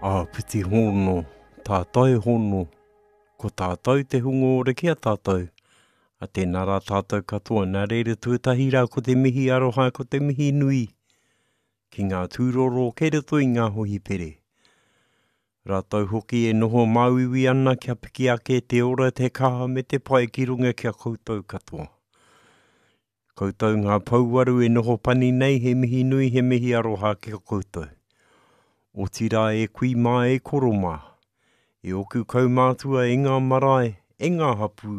Āpiti hono, tātai hono, ko tātou te hunga ora ki a tātou, a tēnā rā tātou katoa, nā reira tuatahi rā ko te mihi aroha, ko te mihi nui ki ngā tūroro kei roto i ngā hohipere. Rātou hoki e noho māuiui ana kia piki ake te ora, te kaha me te pai ki runga ki a koutou katoa. Koutou ngā pouwaru e noho pani nei he mihi nui he mihi aroha ki a koutou. Otirā e kui mā e koro mā, e oku kaumātua e ngā marae, e ngā hapū,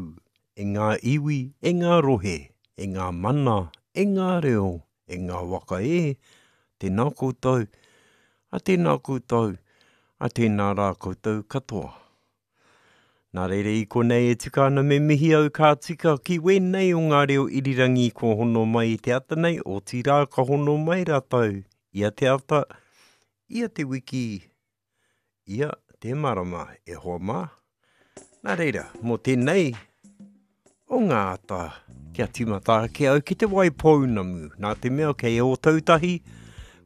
e ngā iwi, e ngā rohe, e ngā mana, e ngā reo, e ngā waka e, tēnā koutou, a tēnā koutou, a tēnā rā koutou katoa. Nā reira i konei e tika ana me mihi au ka tika ki wēnei o ngā reo irirangi kua hono mai i te ata nei, otirā ka hono mai rātou ia te ata, ia te wiki, ia te marama e hoa mā. Nā reira, mō tēnei o ngā ata kia tīmata ake au ki Te Waipounamu, nā te mea kei Ōtautahi,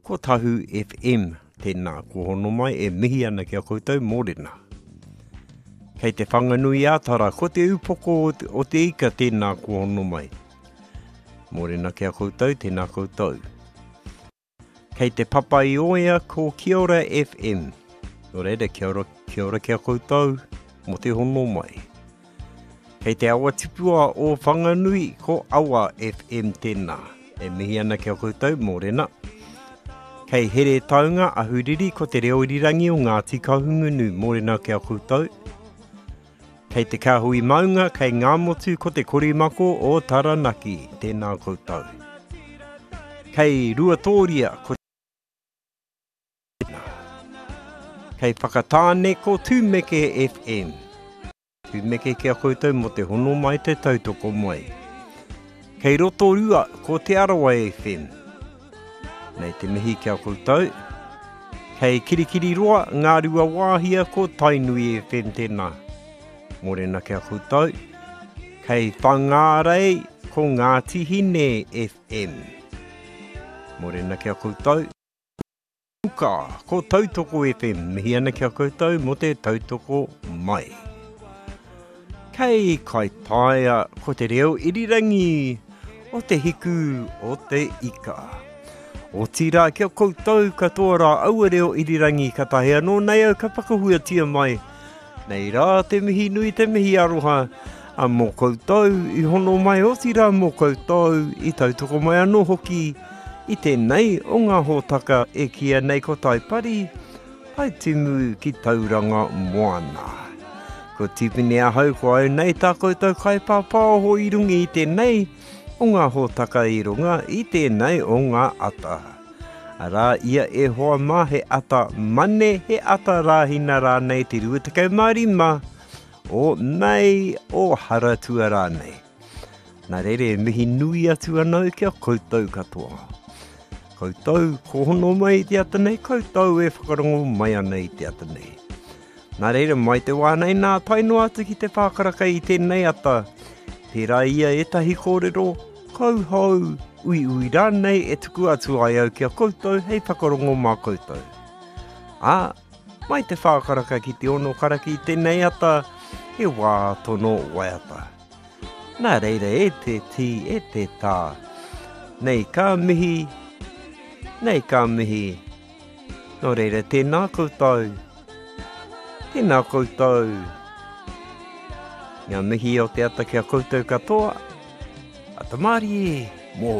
ko Tahu FM tēnā kua hono mai e mihi ana ki a koutou mōrena. Kei Te Whanganui-ā-Tara, ko Te Upoko o te Ika tēnā kua hono mai. Mōrena ki a koutou, tēnā koutou. Kei Te Papaioea ko Kia Ora FM. Nō reira, kia ora, kia ora ki a koutou mō te hono mai. Kei te awa tipua o Whanganui ko Awa FM tēnā. E mihi ana ki a koutou, mōrena. Kei Heretaunga, Ahuriri ko te reo irirangi o Ngāti Kahungunu, mōrena ki a koutou. Kei te kāhui maunga, kei Ngāmotu ko te korimako o Taranaki, tēnā koutou. Kei Ruatōria ko Kei Whakatāne ko Tūmeke FM. Tūmeke ki a koutou mō te hono mai te tautoko mai. Kei Rotorua ko Te Arawa FM. Nei te mihi ki a koutou. Kei Kirikiriroa, Ngāruawāhia ko Tainui FM tēnā. Mōrena ki a koutou. Kei Whangārei ko Ngāti Hine FM. Mōrena ki a koutou. Uka, ko Tautoko FM, mihi ana ki a koutou mō te tautoko mai. Kei Kaitaia, ko te reo irirangi o te hiku o te ika. Otirā ki a koutou katoa rā aua reo irirangi katahi anō nei au ka whakahuatia mai Nei rā te mihi nui te mihi aroha a mō koutou i hono mai otirā mō koutou i tautoko mai anō hoki i tēnei o ngā hōtaka e kīia nei ko Taipari, Taitimu ki Tauranga Moana. Ko Tipene ahau ko au nei tā koutou kaipāpāoho i runga i tēnei o ngā hōtaka i runga i tēnei o ngā ata. Arā ia e hoa mā he ata mane, he ata rāhina rānei te 25 o Mei o Haratua rānei. Nā reira e mihi nui atu ana au ki a koutou katoa. Koutou ko hono mai i te ata nei, koutou e whakarongo mai ana i te ata nei. Nā reira, mai te wā nei nā, tae noa atu ki te whākaraka i tēnei ata. Pērā ia ētahi kōrero, kauhou, uiui rānei e tuku atu ai au ki a koutou hei whakarongo mā koutou. Ā, mai te whākaraka ki te ono karaka i tēnei ata, he wā tono waiata. Nā reira e te tī, e te tā, nei ka mihi, nei ka mihi, Nō reira, tēnā koutou, tēnā koutou. Ngā mihi o te ata ki a koutou katoa. Ata mārie!